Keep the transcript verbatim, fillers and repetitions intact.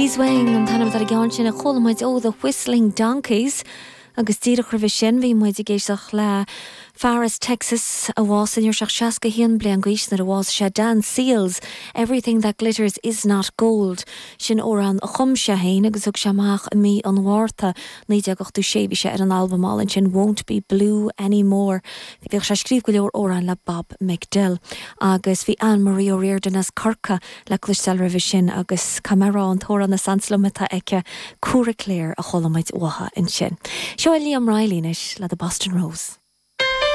Beeswing an t-ainm ar an gceann sin a chuala muid ó The Whistling Donkeys agus díreach roimhe sin bhí muid ag éisteacht le fear as Texas a bhásaigh nuair a bhí sé seasca haon bliain d'aois nuair a bhásaigh sé Dan Seals, Everything That Glitters Is Not Gold. Sin amhrán a chum sé féin agus thug sé amach i mí an Mhárta naoi déag ochtó sé bhí sé ar an albam álainn sin Won't Be Blue Anymore. Bhíodh sé ag scríobh go leor amhrán le Bob McDill agus bhí Anne-Marie O'Riordan as Corcaigh le cloisteáil roimhe sin agus Camerá an t-amhrán is ansa liom atá aici Cooraclare a chuala muid uaithi ansin. Seo Liam Riley anois le the Boston Rose.